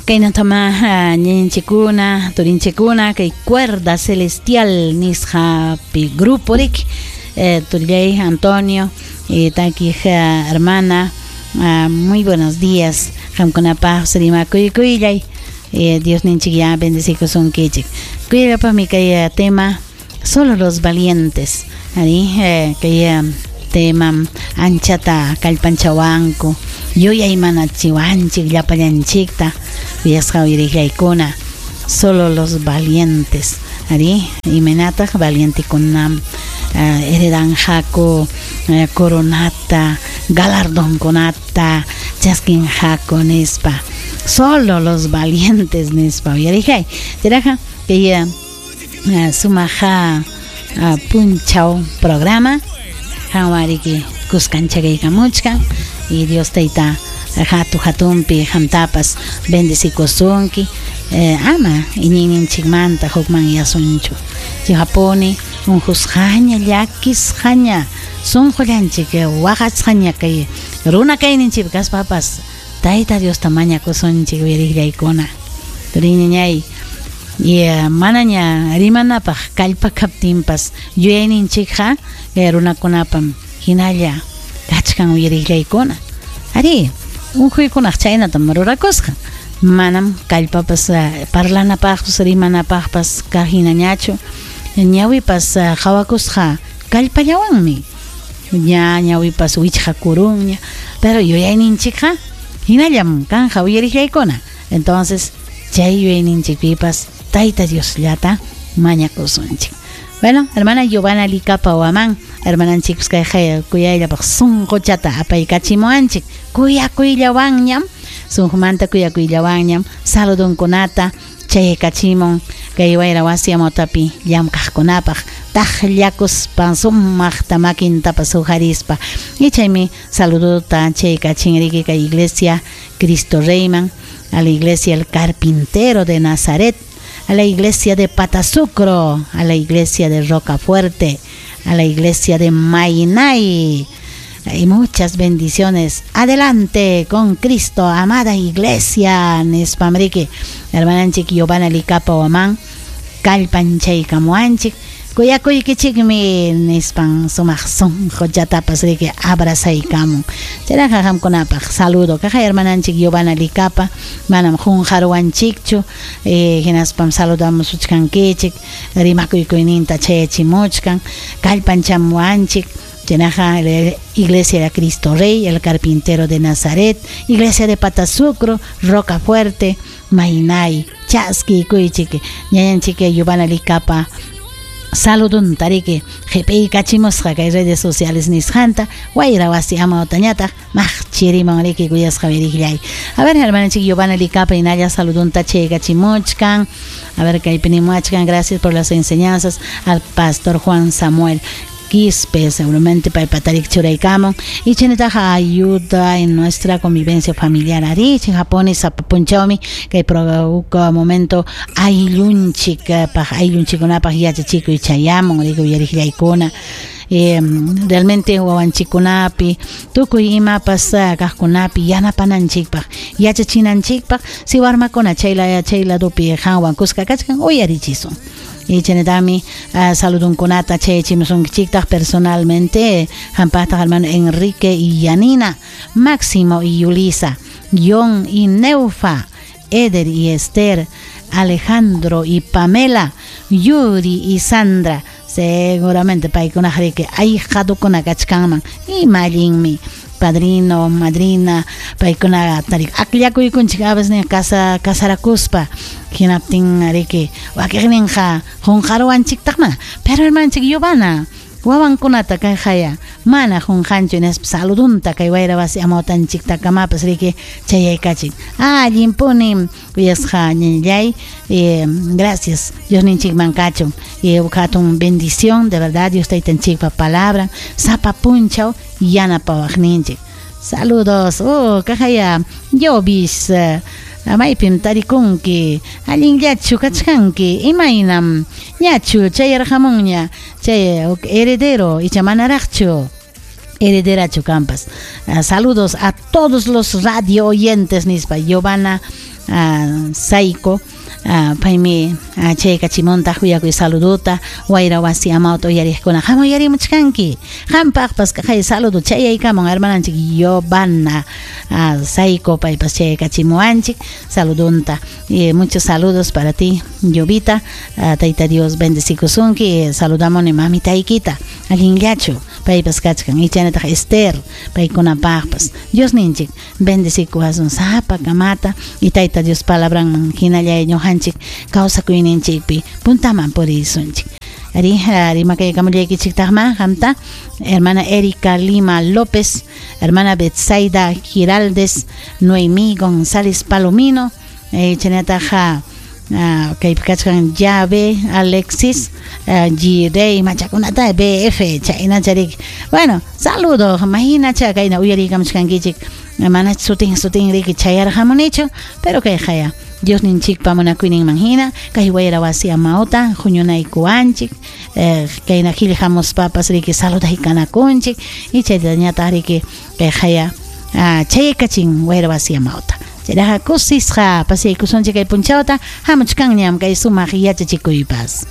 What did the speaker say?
Kaynatama ñañanchikkuna, turinchikkuna kay Cuerda Celestial nisqapi grupo riki turillay Antonio takiq hermana, muy buenos días qamkunapaq rimakuykullay, Diosninchik ya bendecikusunkichik. Kuyallapaqmi kay tema Solo los valientes, arí, kay temam anchata kallpanchawanku, yuyaymanachiwanchik llapallanchikta, kuyasqa uyariqllaykuna, solo los valientes, arí, imaynataq valientekunam heredanqaku coronata, galardonkunata chaskinqaku nispa, solo los valientes nispa uyariqllay. Chayraqa kay sumaq punchaw programa qanwan riki kuskanchakaykamuchkan y Dios Tayta hatu hatunpi qamtapas bendecikusunki, ama iñiyninchikmanta hukmanyasunchu. Chaypuni unqusqaña, llakisqaña, sunqullanchik waqasqaña kay runa kayninchikpi kaspapas Tayta Diosta mañakusunchik uyariqllaykuna. Turiñañay, y manaña rimanapaq kallpa kaptinpas yuyayninchikqa runakunapam hinalla kachkan uyariqllaykuna. Arí, unquykunaq chaynatam rurakusqa. Manam kallpapas parlanapaqpas rimanapaqpas kaq hinañachu, ñawipas qawakusqa kallpallawanmi. Ña ñawipas wichqakurunña, pero yuyayninchikqa hinallam kanja uyariqllaykuna. Entonces, chay yuyayninchikpipas Tayta Diosllata mañakusunchik. Bueno, hermana Giovanna Licapa Huamán, hermananchikpas kay kuyayllapaq sunquchata apaykachimuwanchik, kuyakuyllawanñam, sunqumanta kuyakuyllawanñam, saludunkunata chaykachimun kay wayra wasi amawtapi llamkaqkunapaq, taqllakuspa sumaqta makintapas huqarispa. Y chaymi saludota chaykachin riki kay iglesia Cristo Reyman, a la iglesia El Carpintero de Nazaret, a la iglesia de Patazucro, a la iglesia de Rocafuerte, a la iglesia de Mainay. Y muchas bendiciones. Adelante con Cristo, amada iglesia. Nispamriki, hermananchik Giovanna Licapa Huamán, kallpanchaykamuwanchik, kuyakuykichikmi nispan sumaq sunquchatapas riki abrazaykamun. Chayraqa qamkunapaq saludo. Kaqa hermananchik Giovanna Licapa, manam qunqaruwanchikchu, hinaspam saludamusuchkankichik, rimakuykuyninta chayachimuchkan, kallpanchamuwanchik. Chaynaqa Iglesia de Cristo Rey, el Carpintero de Nazaret, Iglesia de Patazucro, Rocafuerte, Mainay, Chaski, Kuychik, ñañanchik Giovanna Licapa, saludunta riki qhipiykachimusqa kay redes sociales nisqanta, wayra wasi amawtañataq maqchiriman riki kuyasqa wirikllay. A ver, hermananchik Giovanna Licapa hinalla saludunta chaykachimuchkan. A ver, kaypi nimuachkan, gracias por las enseñanzas al pastor Juan Samuel Quispe, seguramente paypatarik churaykamun. Y chaynataqa ayuda en nuestra convivencia familiar. Ari, Japón sapapunchawmi kay momento ayllunchik paq ayllunchikkunapaq yachachikuy chayamun riki uyariqllaykuna. Realmente wawanchikkunapi tukuy imapas kaqkunapi yanapananchikpaq yachachinanchikpaq si warmakuna chayla chay ladopi qanwan kuska kachkan uyarichisun. Y chaynatami saludunkunata chayachimusunkichiktaq personalmente hampaqtaq hermano Enrique y Yanina, Máximo y Yulisa, John y Neufa, Eder y Esther, Alejandro y Pamela, Yuri y Sandra. Seguramente paykunaq riki ayqadukuna kachkanman ima allinmi padrino, madrina, paykuna tarik akllakuykunchik a veces casa casarakuspa hinaptin riki wakiqninqa qunqaruwanchiktaq mana, pero hermanchik Giovanna wawankunata kayqaya mana qunqanchu nispa saludunta kay wayra wasi amawtanchiktakamapas riki chayaykachin. Allinpuni kuyasqa ñañallay, gracias Diosninchikman kachun, hatun bendición de verdad Dios taytanchikpa palabra sapa punchaw yanapawaqninchik. Saludos, oh kaqaya Yovis, maypim tarikunki, allinllachu kachkanki, imaynam ñachu chayarqamunña chay heredero icha manaraqchu herederachu kampas. Saludos a todos los radio oyentes nispa Giovanna Saiko paymi chaykachimuntaq kuyakuy saluduta wayra wasi amawta uyariqkuna qam uyarimuchkanki qampaqpas kaqay saludo chayaykamun hermananchik Giovanna Saiko paypas chaykachimuwanchik saludunta. Muchos saludos para ti, Jovita. Tayta Dios bendecikusunki. Saludamuni mamitaykita allinllachu paypas kachkan y chaynataq Esther paykunapaqpas Dios ninchik bendecikuwasun sapa kamata y Tayta Dios palabranman hinallay ñuqanchik kawsakuyninchikpi puntaman purisunchik. Ari rimakaykamullaykichiktaqma qamta hermana Erika Lima López, hermana Betsaida Giraldes, Noemí González Palomino, chaynataqa kaypi kachkan Llave Alexis Girey machakunata BF chaynacharik. Bueno, saludo mahinacha kayna uyariykamuchkankichik mana sutin sutin riki chayarqamunichu, pero kayqaya Dios ninchikpa munakuyninman hina kay wayra wasi amawta huñunaykuwanchik kayna qillqamuspapas riki saludhaykanakunchik y chaytañataq riki kayqaya chayaykachin wayra wasi amawta. Chayraqa kusisqa pasaykusunchik kay punchawta hamuchkanñam kay sumaq yachachikuypas.